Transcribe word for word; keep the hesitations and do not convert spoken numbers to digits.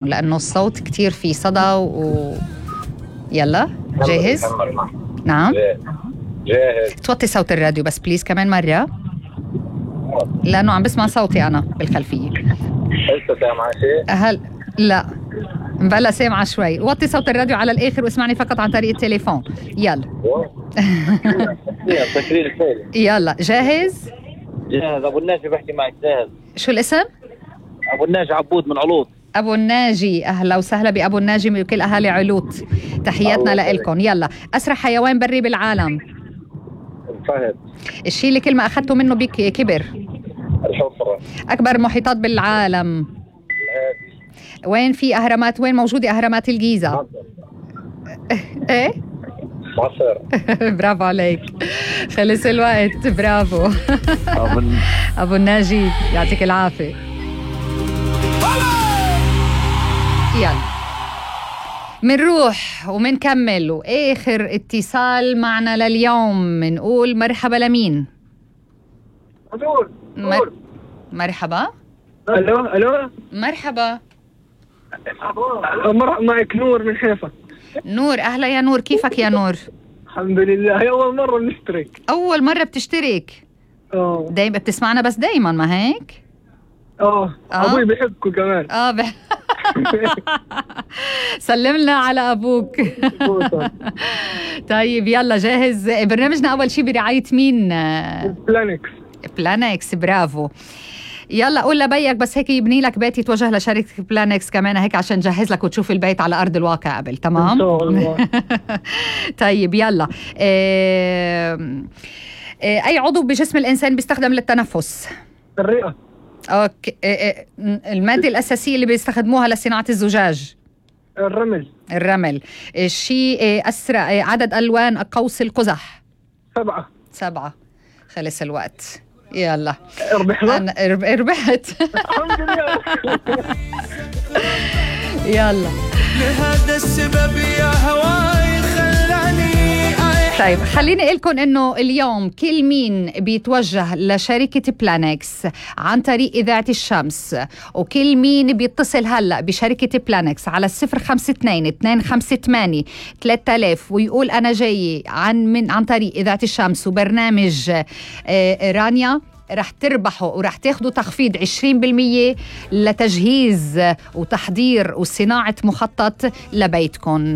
لأنه الصوت كتير فيه صدى و يلا جاهز؟ نعم جاهز. توطي صوت الراديو بس بليز كمان مرة لأنه عم بسمع صوتي أنا بالخلفية. لسه سامعة شيء؟ هل لا بلا سامعة شوي. وطي صوت الراديو على الآخر واسمعني فقط عن طريق التليفون. يلا يلا جاهز؟ جاهز. أبو الناجي بحكي معك. جاهز. شو الاسم؟ أبو الناجي عبود من علوط. أبو الناجي أهلا وسهلا بأبو الناجي من كل أهالي علوط، تحياتنا لكم. يلا أسرع حيوان بري بالعالم؟ الفهد. الشيء اللي كل ما أخذته منه بك كبر؟ الحفرة. أكبر محيطات بالعالم؟ الهادي. وين في أهرامات؟ وين موجودة أهرامات الجيزة؟ مصر. إيه؟ مصر. برافو عليك، خلص الوقت. برافو أبو الناجي يعطيك العافية. يلا منروح ومنكمل، وآخر اتصال معنا لليوم منقول مرحبا لمين؟ مر... مرحبا. الو الو مرحبا. مر... معك نور من حيفا. نور أهلا يا نور، كيفك يا نور؟ الحمد لله. هي أول مرة بنشترك. أول مرة بتشترك؟ اه دايما بتسمعنا بس دايما ما هيك؟ اه أبوي بيحبكوا كمان. اه بح... سلمنا على أبوك. طيب يلا جاهز؟ برنامجنا أول شي برعاية مين؟ بلانكس. بلانكس برافو. يلا قول لبيك بس هيك يبني لك بيت يتوجه لشركة بلانكس كمان هيك عشان نجهز لك وتشوف البيت على أرض الواقع قبل. تمام؟ إن شاء الله. طيب يلا إيه... إيه... أي عضو بجسم الإنسان بيستخدم للتنفس؟ الرئة. أوكي. إيه... المادة الأساسية اللي بيستخدموها لصناعة الزجاج؟ الرمل. الرمل. الشيء إيه أسرع إيه عدد ألوان قوس القزح؟ سبعة. سبعة. خلص الوقت. يلا ربحنا. أنا ربحت. الحمد لله. يلا لهذا السبب يا هواي خلاني. طيب خليني أقول لكم إنه اليوم كل مين بيتوجه لشركة بلانكس عن طريق إذاعة الشمس، وكل مين بيتصل هلا بشركة بلانكس على الصفر خمسة اثنين اثنين خمسة ثمانية ثلاثة آلاف ويقول أنا جاي عن من عن طريق إذاعة الشمس وبرنامج آه رانيا، رح تربحوا ورح تاخدوا تخفيض عشرين بالمية لتجهيز وتحضير وصناعة مخطط لبيتكم.